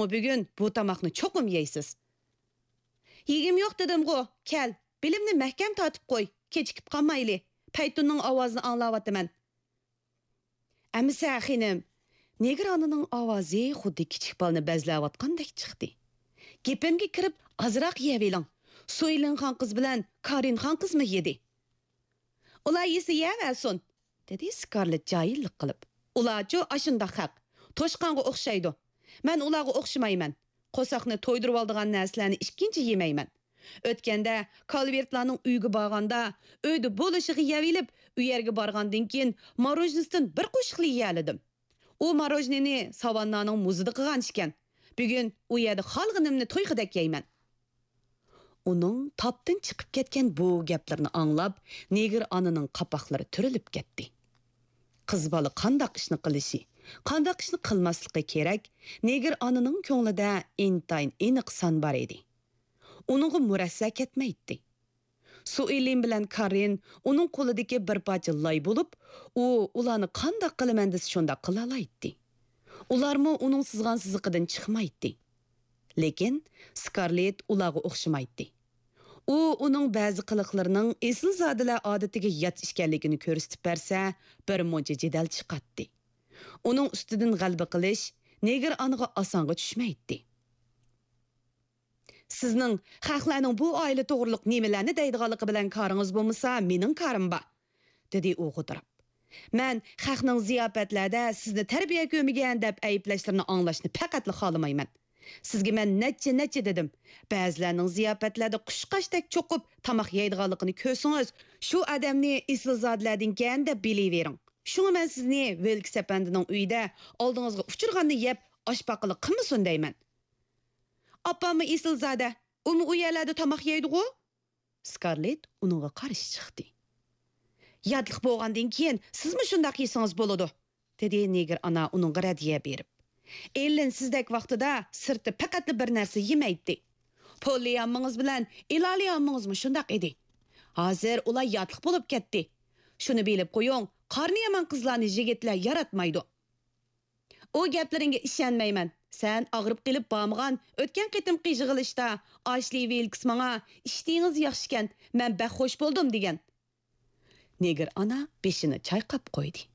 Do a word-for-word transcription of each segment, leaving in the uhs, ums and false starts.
بۈگۈن بۇ تاماقنى چوقۇم يەيسىز. يېگۈم يوق دېدىمغۇ، كەل، بېلىمنى مەھكەم تارتىپ قوي، كېچىكىپ قالمايلى، پەيتۇننىڭ ئاۋازىنى ئاڭلاۋاتىمەن. ئەمىسە خېنىم، نېگىر ئانىنىڭ ئاۋازى خۇددى كىچىك بالىنى بەزلەۋاتقاندەك چىقتى. گېپىمگە كىرىپ ئازراق يەۋېلىڭ، سۇيلىن خانقىز بىلەن كارىن خانقىزمۇ يېدى. ئۇلار يېسە يەۋەرسۇن، دېدى سكارلېت جاھىللىق قىلىپ. ئۇلارچۇ ئاشۇنداق خەق، توشقانغا ئوخشايدۇ. مەن ئۇلارغا ئوخشىمايمەن. قورساقنى تويدۇرۇۋالىدىغان نەرسىلەرنى ئىككىنچى يېمەيمەن. ئۆتكەندە كالۋېرتلارنىڭ ئۆيىگە بارغاندا، ئۆيدە بولۇشىغا يەۋېلىپ، ئۇ يەرگە بارغاندىن كېيىن ماروژنىسىدىن بىر قوشۇقلا يېيەلىدىم. ئۇ ماروژنىنى ساۋاننانىڭ مۇزىدا قىلغان ئىكەن. بۈگۈن ئۇ يەردە خالىغىنىمنى تويخۇدەك يەيمەن. ئۇنىڭ تاپتىن چىقىپ كەتكەن بۇ گەپلىرىنى ئاڭلاپ، نېگىر ئانىنىڭ قاپاقلىرى تۈرۈلۈپ كەتتى. قىز بالا قانداق ئىشنى قىلىشى، قانداق ئىشنى قىلماسلىقى كېرەك، نېگىر ئانىنىڭ كۆڭلىدە ئىنتايىن ئېنىق سان بار ئىدى. ئۇنىڭغا مۇرەسسە كەتمەيتتى. سۇئېلىن بىلەن كارىن ئۇنىڭ قولىدىكى بىر پارچە لاي بولۇپ، ئۇ ئۇلارنى قانداق قىلىمەن دېسە شۇنداق قىلالايتتى. ئۇلارمۇ ئۇنىڭ سىزغان سىزىقىدىن چىقمايتتى. لېكىن سكارلېت ئۇلارغا ئوخشىمايتتى. ئۇ ئۇنىڭ بەزى قىلىقلىرىنىڭ ئېسىلزادىلەر ئادىتىگە يات ئىكەنلىكىنى كۆرسىتىپ بەرسە، بىر مۇنچە جېدەل چىقاتتى. ئۇنىڭ ئۈستىدىن غەلىبە قىلىش نېگىر ئانىغا ئاسانغا چۈشمەيتتى. سىزنىڭ خەقلەرنىڭ بۇ ئائىلە توغرۇلۇق نېمىلەرنى دەيدىغانلىقى بىلەن كارىڭىز بولمىسا، مېنىڭ كارىم بار، دېدى ئۇ غودۇراپ. مەن خەقنىڭ زىياپەتلەردە سىزنى تەربىيە كۆرمىگەن دەپ ئەيىبلەشلىرىنى ئاڭلاشنى پەقەتلا خالىمايمەن. سىزگە مەن نەچچە، نەچچە دېدىم. بەزىلەرنىڭ زىياپەتلەردە قۇشقاچتەك چوقۇپ تاماق يەيدىغانلىقىنى كۆرسىڭىز، شۇ ئادەمنى ئېسىلزادىلەردىنكەن دەپ بىلىۋېرىڭ. شۇڭا مەن سىزنى ۋىلكس ئەپەندىنىڭ ئۆيىدە ئالدىڭىزغا ئۇچرىغاننى يەپ، ئاشپاقىلىق قىلمىسۇن دەيمەن. ئاپاممۇ ئېسىلزادە، ئۇمۇ ئۇ يەرلەردە تاماق يەيدىغۇ؟ سكارلېت ئۇنىڭغا قارشى چىقتى. ياتلىق بولغاندىن كېيىن سىزمۇ شۇنداق يېسىڭىز بولىدۇ، دېدى نېگىر ئانا ئۇنىڭغا رەددىيە بېرىپ. ئېللىن سىزدەك ۋاقتىدا سىرتتا پەقەتلا بىر نەرسە يېمەيتتى. پوللى ئاممىڭىز بىلەن ئېلالى ئاممىڭىزمۇ شۇنداق ئىدى. ھازىر ئۇلار ياتلىق بولۇپ كەتتى. شۇنى بىلىپ قويۇڭ، قارنى يامان قىزلارنى يىگىتلەر ياراتمايدۇ. ئۇ گەپلىرىڭگە ئىشەنمەيمەن. سەن ئاغرىپ قېلىپ بارمىغان ئۆتكەن قېتىمقى يىغىلىشتا ئاشلى ۋىلكس ماڭا، «ئىشتىيىڭىز ياخشىكەن، مەن بەك خوش بولدۇم» دېگەن. نېگىر ئانا بېشىنى چايقاپ قويدى.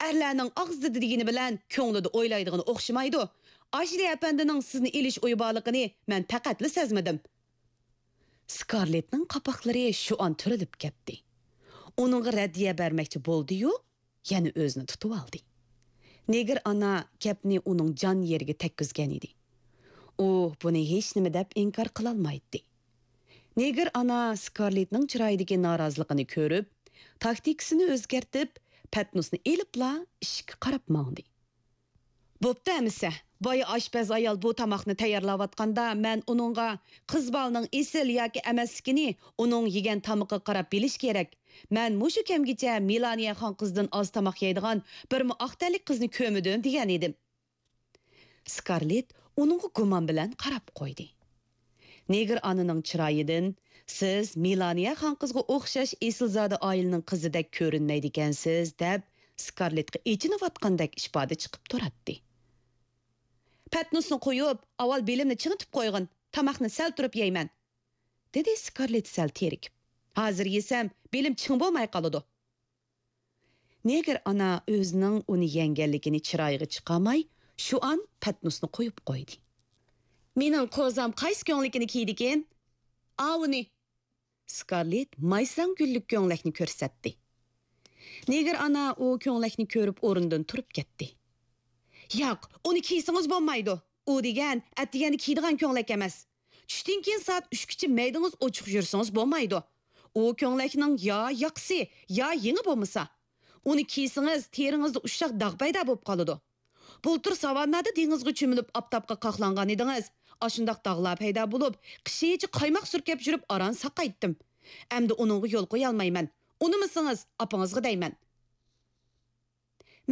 ئەرلەرنىڭ ئاغزىدا دېگىنى بىلەن كۆڭلىدە ئويلايدىغىنى ئوخشىمايدۇ. ئاشلى ئەپەندىنىڭ سىزنى ئېلىش ئويى بارلىقىنى مەن پەقەتلا سەزمىدىم. سكارلېتنىڭ قاپاقلىرى شۇ ئان تۈرۈلۈپ كەتتى. ئۇنىڭغا رەددىيە بەرمەكچى بولدى-يۇ، يەنە ئۆزىنى تۇتۇۋالدى. نېگىر ئانا گەپنى ئۇنىڭ جان يېرىگە تەگكۈزگەن ئىدى. ئۇ بۇنى ھېچنېمە دەپ ئىنكار قىلالمايتتى. نېگىر ئانا سكارلېتنىڭ چىرايىدىكى نارازىلىقىنى كۆرۈپ، تاكتىكىسىنى ئۆزگەرتىپ، پەتنۇسنى ئېلىپلا ئىشىككە قاراپ ماڭدى. بوپتۇ ئەمىسە، بايا ئاشپەز ئايال بۇ تاماقنى تەييارلاۋاتقاندا، مەن ئۇنىڭغا قىز بالىنىڭ ئېسىل ياكى ئەمەسلىكىنى ئۇنىڭ يېگەن تامىقىغا قاراپ بىلىش كېرەك. مەن مۇشۇ كەمگىچە مېلانىيە خانقىزدىن ئاز تاماق يەيدىغان بىرمۇ ئاق تەنلىك قىزنى كۆرمىدىم، دېگەن ئىدىم. سكارلېت ئۇنىڭغا گۇمان بىلەن قاراپ قويدى. نېگىر ئانىنىڭ چىرايىدىن، «سىز مېلانىيە خانقىزغا ئوخشاش ئېسىلزادە ئائىلىنىڭ قىزىدەك كۆرۈنمەيدىكەنسىز» دەپ، سكارلېتقا ئېچىنىۋاتقاندەك ئىپادە چىقىپ تۇراتتى. «پەتنۇسنى قويۇپ، ئاۋۋال بېلىمنى چىڭىتىپ قويغىن، تاماقنى سەل تۇرۇپ يەيمەن»، دېدى سكارلېت سەل تېرىكىپ. «ھازىر يېسەم، بېلىم چىڭ بولماي قالىدۇ.» نېگىر ئانا ئۆزىنىڭ ئۇنى يەڭگەنلىكىنى چىرايىغا چىقارماي، شۇ ئان پەتنۇسنى قويۇپ قويدى. «مېنىڭ قوزام قايسى كۆڭلىكىنى كىيدىكىن؟ ئاۋۇنى!» سكارلېت مايساڭ گۈللۈك كۆڭلەكنى كۆرسەتتى. نېگىر ئانا ئۇ كۆڭلەكنى كۆرۈپ ئورنىدىن تۇرۇپ كەتتى. «ياق، ئۇنى كىيسىڭىز بولمايدۇ. ئۇ دېگەن ئەتىگەندە كىيىدىغان كۆڭلەك ئەمەس. چۈشتىن كېيىن سائەت ئۈچكىچە مەيدىڭىز ئوچۇق يۈرسىڭىز بولمايدۇ. ئۇ كۆڭلەكنىڭ يا ياقىسى، يا يېڭى بولمىسا. ئۇنى كىيسىڭىز، تېرىڭىزدا ئۇششاق داغ پەيدا بولۇپ قالىدۇ. بۇلتۇر ساۋاننادا دېڭىزغا چۆمۈلۈپ ئاپتاپقا قاقلانغان ئىدىڭىز. ئاشۇنداق داغلار پەيدا بولۇپ، قىشىچە قايماق سۈركەپ يۈرۈپ ئاران ساقايتتىم. ئەمدى ئۇنىڭغا يول قويالمايمەن. ئۇنىمىسىڭىز، ئاپىڭىزغا دەيمەن.»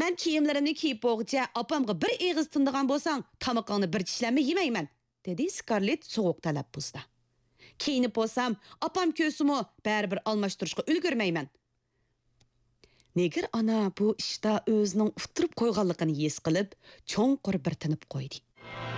«مەن كىيىملىرىمنى كىيىپ بولغۇچە ئاپامغا بىر ئېغىز تىندىغان بولساڭ، تامىقىڭنى بىر چىشلەممۇ يېمەيمەن.» دېدى سكارلېت سوغۇق تەلەپپۇزدا. «كىيىنىپ بولسام، ئاپام كۆرسىمۇ، بەرىبىر ئالماشتۇرۇشقا ئۈلگۈرمەيمەن.» نېگىر ئانا بۇ ئىشتا ئۆزىنىڭ ئۇتتۇرۇپ قويغانلىقىنى ھېس قىلىپ، چوڭقۇر بىر تىنىپ قويدى.